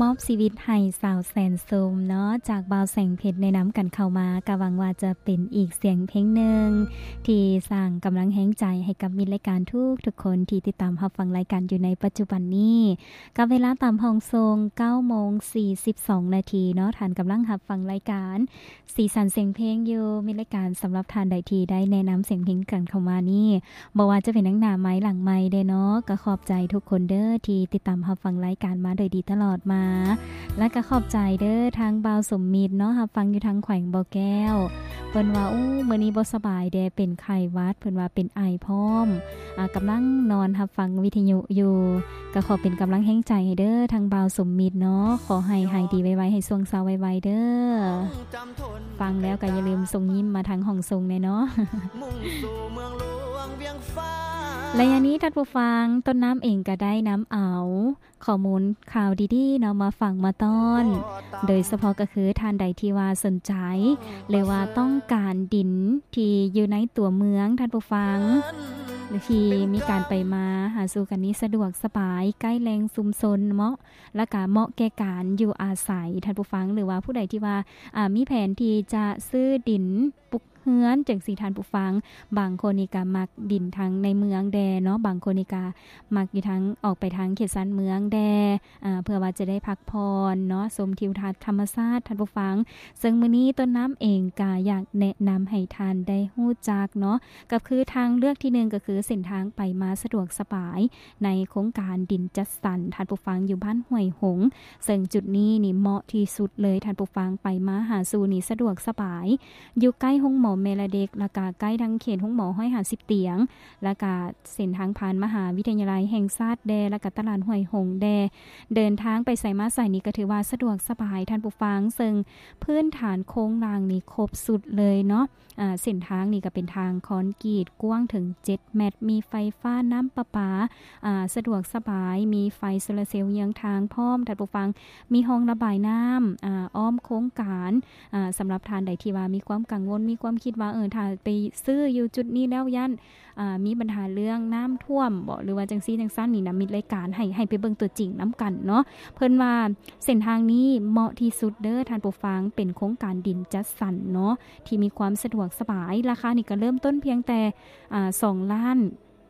ມອບຊີວິດໃຫ້ສາວແສນຊົມເນາະ ຈາກບ່າວແສງເພັດແນະນຳກັນເຂົ້າມາ ກະຫວັງວ່າຈະເປັນອີກສຽງເພງໜຶ່ງ ທີ່ສ້າງກຳລັງແຮງໃຈໃຫ້ກັບມິດລາຍການທຸກໆຄົນທີ່ຕິດຕາມຮັບຟັງລາຍການຢູ່ໃນປັດຈຸບັນນີ້. ກັບເວລາຕາມຫ້ອງສົ່ງ ເກົ້າໂມງສີ່ສິບສອງນາທີເນາະ, ທ່ານກຳລັງຮັບຟັງລາຍການ ສີສັນສຽງເພງຢູ່ ມີລາຍການສຳລັບທ່ານໃດທີ່ໄດ້ແນະນຳສຽງເພງກັນເຂົ້າມານີ້ ບໍ່ວ່າຈະເປັນທັງໜ້າໄມ ຫຼັງໄມເດ້ເນາະ. ກໍຂອບໃຈທຸກຄົນເດີທີ່ຕິດຕາມຮັບຟັງລາຍການມາໂດຍດີຕະຫຼອດມາ ແລະ ກໍຂອບໃຈເດີທາງບ່າວສົມມິດເນາະ ຮັບຟັງຢູ່ທາງແຂວງບໍ່ແກ້ວ ເພິ່ນວ່າ ໂອ້ ມື້ນີ້ບໍ່ສະບາຍເດ້ ເປັນໄຂ້ຫວັດ ເພິ່ນວ່າເປັນໄອພ້ອມ ອາ ກຳລັງນອນຮັບຟັງວິທະຍຸຢູ່. ກໍຂໍເປັນກຳລັງແຮງໃຈໃຫ້ເດີທາງບ່າວສົມມິດເນາະ ຂໍໃຫ້ຫາຍດີໄວໆ ໃຫ້ຊ່ວງເຊົາໄວໆເດີ. ຟັງແລ້ວກໍຢ່າລືມສົ່ງຍິ້ມມາທາງຫ້ອງສົ່ງແດ່ເນາະ. ໄລຍະນີ້ທ່ານຜູ້ຟັງ ຕົ້ນນ້ຳເອງກໍໄດ້ນຳເອົາຂໍ້ມູນຂ່າວດີໆເນາະ ມາຝາກມາຕ້ອນ ໂດຍສະເພາະກໍຄືທ່ານໃດທີ່ວ່າສົນໃຈ ຫຼືວ່າຕ້ອງການດິນທີ່ຢູ່ໃນຕົວເມືອງ ທ່ານຜູ້ຟັງ ທີ່ມີການໄປມາຫາສູ່ກັນນີ້ສະດວກສະບາຍ ໃກ້ແຫຼ່ງຊຸມຊົນເນາະ ແລະກະເໝາະແກ່ການຢູ່ອາໄສ ທ່ານຜູ້ຟັງ ຫຼືວ່າຜູ້ໃດທີ່ວ່າ ອາ ມີແຜນທີ່ຈະຊື້ດິນປຸກເຮືອນຈັ່ງຊີ້ ທ່ານຜູ້ຟັງ ບາງຄົນນີ້ກະມັກດິນທາງໃນເມືອງແດ່ເນາະ ບາງຄົນນີ້ກະມັກຢູ່ທາງ ອອກໄປທາງເຂດຊານເມືອງແດ່ ອາ ເພື່ອວ່າຈະໄດ້ພັກຜ່ອນເນາະ ຊົມທິວທັດທຳມະຊາດ ທ່ານຜູ້ຟັງ. ເຊິ່ງມື້ນີ້ຕົ້ນນ້ຳເອງກະຢາກແນະນຳໃຫ້ທ່ານໄດ້ຮູ້ຈັກເນາະ ກໍຄືທາງເລືອກທີໜຶ່ງ ກໍຄືເສັ້ນທາງໄປມາສະດວກສະບາຍ ໃນໂຄງການດິນຈັດສັນ ທ່ານຜູ້ຟັງ ຢູ່ບ້ານຫ້ວຍຫົງ ເຊິ່ງຈຸດນີ້ນີ້ເໝາະທີ່ສຸດເລີຍ ທ່ານຜູ້ຟັງ ໄປມາຫາສູ່ນີ້ສະດວກສະບາຍ ຢູ່ໃກ້ໂຮງໝໍແມ່ ແລະ ເດັກ ແລະກະໃກ້ທາງເຂດໂຮງໝໍຮ້ອຍຫ້າສິບຕຽງ ແລະກະເສັ້ນທາງຜ່ານມະຫາວິທະຍາໄລແຫ່ງຊາດແດ່ ແລະກະຕະຫຼາດຫ້ວຍຫົງແດ່ ເດີນທາງໄປໃສມາໃສນີ້ກໍຖືວ່າສະດວກສະບາຍ ທ່ານຜູ້ຟັງ ເຊິ່ງພື້ນຖານໂຄງລ່າງນີ້ຄົບຊຸດເລີຍເນາະ. ອາ ເສັ້ນທາງນີ້ກໍເປັນທາງຄອນກຣີດ ກວ້າງເຖິງເຈັດແມັດ ມີໄຟຟ້າ ນ້ຳປະປາ ອາ ສະດວກສະບາຍ ມີໄຟໂຊລາເຊວເຍືອງທາງພ້ອມ ທ່ານຜູ້ຟັງ ມີຮ່ອງລະບາຍນ້ຳ ອາ ອ້ອມໂຄງການ. ອາ ສຳລັບທ່ານໃດທີ່ວ່າມີຄວາມກັງວົນ ມີຄວາມຄິດວ່າ ເອີ ຖ້າໄປຊື້ຢູ່ຈຸດນີ້ແລ້ວຢ້ານ ອາ ມີບັນຫາເລື່ອງນ້ຳຖ້ວມບໍ ຫຼືວ່າຈັ່ງຊີ້ຈັ່ງຊັ້ນນີ້ນະ ມິດລາຍການໃຫ້ ໃຫ້ໄປເບິ່ງຕົວຈິງນຳກັນເນາະ. ເພິ່ນວ່າເສັ້ນທາງນີ້ເໝາະທີ່ສຸດເດີທ່ານຜູ້ຟັງ ເປັນໂຄງການດິນຈັດສັນເນາະ ທີ່ມີຄວາມສະດວກສະບາຍ ລາຄານີ້ກໍເລີ່ມຕົ້ນພຽງແຕ່ ອາ ສອງລ້ານ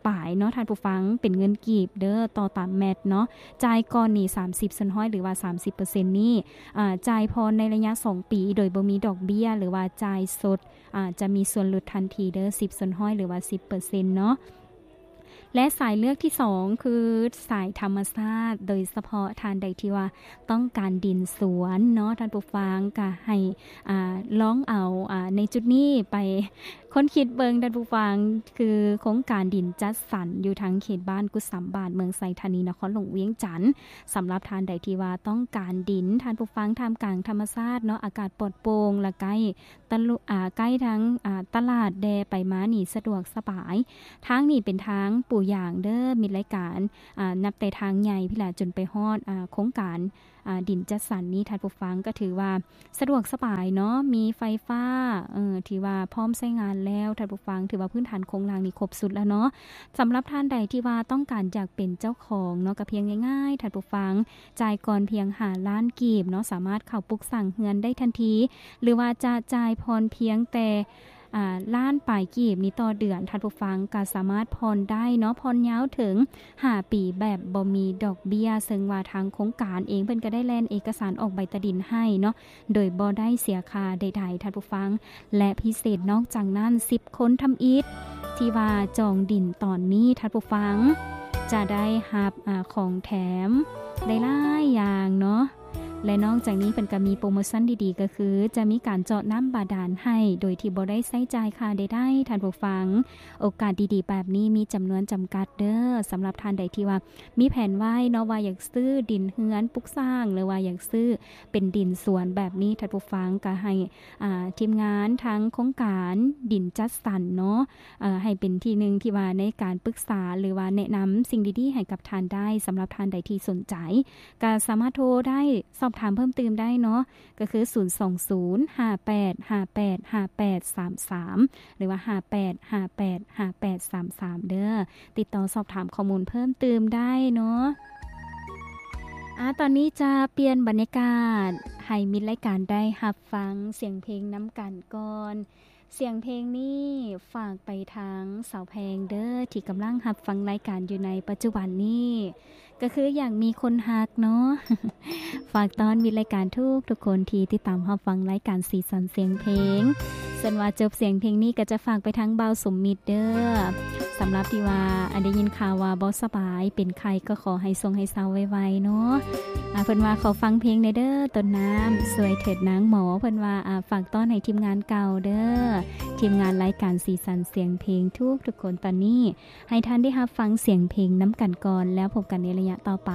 ປາຍເນາະທ່ານຜູ້ຟັງ ເປັນເງິນກີບເດີ ຕໍ່ຕາມແມັດເນາະ. ຈ່າຍກ່ອນນີ້ສາມສິບສ່ວນຮ້ອຍ ຫຼືວ່າສາມສິບເປີເຊັນນີ້ ອາ ຈ່າຍຜ່ອນໃນໄລຍະສອງປີ ໂດຍບໍ່ມີດອກເບ້ຍ ຫຼືວ່າຈ່າຍສົດ ອາ ຈະມີສ່ວນຫຼຸດທັນທີເດີ ສິບສ່ວນຮ້ອຍ ຫຼືວ່າສິບເປີເຊັນເນາະ. ແລະ ສາຍເລືອກທີສອງ ຄືສາຍທຳມະຊາດ ໂດຍສະເພາະທ່ານໃດທີ່ວ່າຕ້ອງການດິນສວນເນາະ ທ່ານຜູ້ຟັງ ກະໃຫ້ ອາ ລອງເອົາ ອາ ໃນຈຸດນີ້ໄປຄົ້ນຄິດເບິ່ງ ທ່ານຜູ້ຟັງ ຄືໂຄງການດິນຈັດສັນຢູ່ທາງເຂດບ້ານກຸດສຳບາດ ເມືອງໄຊທານີ ນະຄອນຫຼວງວຽງຈັນ. ສຳລັບທ່ານໃດທີ່ວ່າຕ້ອງການດິນ ທ່ານຜູ້ຟັງ ທ່າມກາງທຳມະຊາດເນາະ ອາກາດປອດໂປ່ງ ແລະ ໃກ້ ຕະລຸ- ອາ ໃກ້ທາງ ອາ ຕະຫຼາດແດ່ ໄປມານີ້ສະດວກສະບາຍ. ທາງນີ້ເປັນທາງປູຢາງເດີ ມິດລາຍການ ອາ ນັບແຕ່ທາງໃຫຍ່ພີ້ລະ ຈົນໄປຮອດ ອາ ໂຄງການ ອາ ດິນຈັດສັນນີ້ ທ່ານຜູ້ຟັງ ກໍຖືວ່າສະດວກສະບາຍເນາະ ມີໄຟຟ້າ ເອີ ຖືວ່າພ້ອມໃຊ້ງານແລ້ວ ທ່ານຜູ້ຟັງ ຖືວ່າພື້ນຖານໂຄງລ່າງນີ້ຄົບຊຸດແລ້ວເນາະ. ສຳລັບທ່ານໃດທີ່ວ່າຕ້ອງການຢາກເປັນເຈົ້າຂອງເນາະ ກໍພຽງງ່າຍໆ ທ່ານຜູ້ຟັງ ຈ່າຍກ່ອນພຽງຫ້າລ້ານກີບເນາະ ສາມາດເຂົ້າປຸກສ້າງເຮືອນໄດ້ທັນທີ ຫຼືວ່າຈະຈ່າຍຜ່ອນພຽງແຕ່ ອາ ລ້ານປາຍກີບນີ້ຕໍ່ເດືອນ ທ່ານຜູ້ຟັງກໍສາມາດຜ່ອນໄດ້ເນາະ ຜ່ອນຍາວເຖິງຫ້າປີແບບບໍ່ມີດອກເບ້ຍ ເຊິ່ງວ່າທາງໂຄງການເອງເພິ່ນກໍໄດ້ແລ່ນເອກະສານອອກໃບຕາດິນໃຫ້ເນາະ ໂດຍບໍ່ໄດ້ເສຍຄ່າໃດໆ ທ່ານຜູ້ຟັງ. ແລະ ພິເສດນອກຈາກນັ້ນ ສິບຄົນທຳອິດທີ່ວ່າຈອງດິນຕອນນີ້ ທ່ານຜູ້ຟັງ ຈະໄດ້ຮັບ ອາ ຂອງແຖມໄດ້ຫຼາຍຢ່າງເນາະ. ແລະ ນອກຈາກນີ້ເພິ່ນກໍມີໂປຣໂມຊັນດີໆ ກໍຄືຈະມີການເຈາະນ້ຳບາດານໃຫ້ ໂດຍທີ່ບໍ່ໄດ້ໃຊ້ຈ່າຍຄ່າໃດໆ ທ່ານຜູ້ຟັງ. ໂອກາດດີໆແບບນີ້ມີຈຳນວນຈຳກັດເດີ. ສຳລັບທ່ານໃດທີ່ວ່າມີແຜນໄວ້ເນາະ ວ່າຢາກຊື້ດິນເຮືອນປຸກສ້າງ ຫຼືວ່າຢາກຊື້ເປັນດິນສວນແບບນີ້ ທ່ານຜູ້ຟັງ ກໍໃຫ້ ອາ ທີມງານທາງໂຄງການດິນຈັດສັນເນາະ ເອີ ໃຫ້ເປັນທີ່ໜຶ່ງທີ່ວ່າໃນການປຶກສາ ຫຼືວ່າແນະນຳສິ່ງດີໆໃຫ້ກັບທ່ານໄດ້. ສຳລັບທ່ານໃດທີ່ສົນໃຈ ກໍສາມາດໂທໄດ້ ສອບຖາມເພີ່ມຕື່ມໄດ້ເນາະ ກໍຄື ສູນສອງສູນ ຫ້າແປດຫ້າແປດຫ້າແປດສາມສາມ ຫຼືວ່າ ຫ້າແປດຫ້າແປດຫ້າແປດສາມສາມ ເດີ. ຕິດຕໍ່ສອບຖາມຂໍ້ມູນເພີ່ມຕື່ມໄດ້ເນາະ. ອາ ຕອນນີ້ຈະປ່ຽນບັນຍາກາດ ໃຫ້ມິດລາຍການໄດ້ຮັບຟັງສຽງເພງນຳກັນກ່ອນ. ສຽງເພງນີ້ຝາກໄປທາງສາວແພງເດີ້ ທີ່ກຳລັງຮັບຟັງລາຍການຢູ່ໃນປັດຈຸບັນນີ້ ກໍຄືຢາກມີຄົນຮັກເນາະ. ຝາກຕ້ອນມິດລາຍການທຸກໆຄົນທີ່ຕິດຕາມຮັບຟັງລາຍການສີສັນສຽງເພງ. ສ່ວນວ່າຈົບສຽງເພງນີ້ກໍຈະຝາກໄປທາງບ່າວສົມມິດເດີ້. ສຳລັບທີ່ວ່າ ອັນ ໄດ້ຍິນຂ່າວວ່າບໍ່ສະບາຍ ເປັນໄຂ້ ກໍຂໍໃຫ້ຊົງໃຫ້ເຊົາໄວໆເນາະ. ອາ ເພິ່ນວ່າຂໍຟັງເພງແດ່ເດີ້ ຕົ້ນນ້ຳ ຊ່ວຍເຖີດນາງໝໍ. ເພິ່ນວ່າ ອາ ຝາກຕ້ອນໃຫ້ທີມງານເກົ່າເດີ້ ທີມງານລາຍການສີສັນສຽງເພງທຸກໆຄົນ. ຕອນນີ້ໃຫ້ທ່ານໄດ້ຮັບຟັງສຽງເພງນຳກັນກ່ອນ ແລ້ວພົບກັນໃນໄລຍະຕໍ່ໄປ.